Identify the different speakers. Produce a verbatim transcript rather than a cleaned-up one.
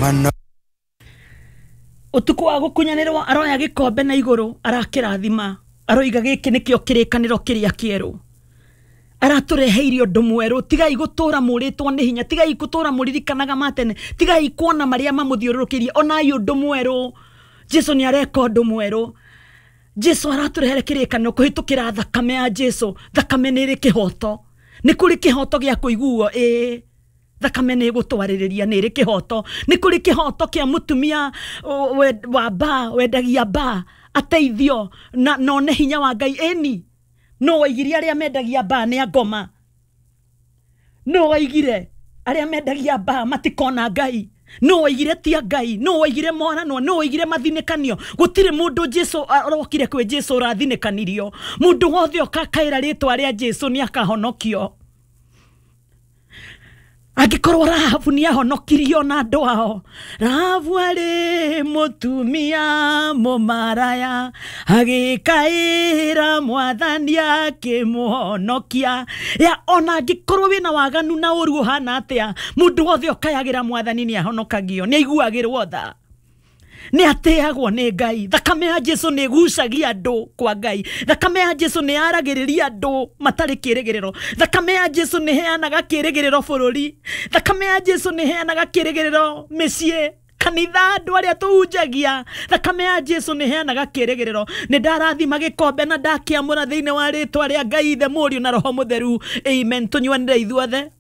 Speaker 1: Mano
Speaker 2: Ũtukũ wa gũkunyanĩrwo aroya gĩkombe na igũrũ, arakĩrathima, aroiga gĩkĩ nĩkĩo kĩrĩkanĩro kĩrĩa kĩerũ. Aratũreheire ũndũ mwerũ. Tigai gũtũra mũrĩtwo nĩ hinya, tigai gũtũra mũririkanaga ma tene, tigai kuona marĩa mamũthiũrũrũkĩirie, onai ũndũ mwerũ. Jesu nĩ areka ũndũ mwerũ. Jesu aratũrehere kĩrĩkanĩro kũhĩtũkĩra thakame ya Jesu. Thakame nĩ ĩrĩ kĩhoto, nĩ kũrĩ kĩhoto gĩa kũiguo. Ĩĩ, thakame nĩ ĩgũtwarĩrĩria, nĩ ĩrĩ kĩhoto. Nĩ kũrĩ kĩhoto kĩa mũtumia o, we- wa mbaa, wendagia mbaa, ateithio na none hinya wa Ngai. Ĩni no waigire arĩa mendagia mbaa nĩ angoma? No waigire arĩa mendagia mbaa matikona Ngai? No waigire tia Ngai? No waigire moranwo? No waigire mathinĩkanio? Gũtirĩ mũndũ Jesu arokire kwĩ Jesu ũrathinĩkanirio. Mũndũ wothe ũkakaĩra rĩtwa rĩa Jesu nĩ akahonokio. Angĩkorwo Rahabu nĩ ahonokirio na andũ ao, Rahabu arĩ mũtumia mũmaraya, agĩkaĩra Mwathani akĩmũhonokia. Ya ona angĩkorwo wĩna waganu na ũru ũhana atĩa, mũndũ wothe ũkayagĩra Mwathani nĩ ahonokagio, nĩ aiguagĩrwo tha, nĩ ateagwo nĩ Ngai. Thakame ya Jesu nĩ ĩgucagia andũ kwa Ngai. Thakame ya Jesu nĩ yaragĩrĩria andũ matarĩ kĩrĩgĩrĩro. Thakame ya Jesu nĩ heanaga kĩrĩgĩrĩro bũrũri. Thakame ya Jesu nĩ heanaga kĩrĩgĩrĩro mĩciĩ, kanitha, andũ arĩa tũhunjagia. Thakame ya Jesu nĩ heanaga kĩrĩgĩrĩro. Nĩ ndarathima gĩkombe na ndakĩamũra thĩinĩ wa rĩtwa rĩa Ngai Ithe, Mũriũ na Roho Mũtheru. Amen. Tũnyuanĩre ithuothe.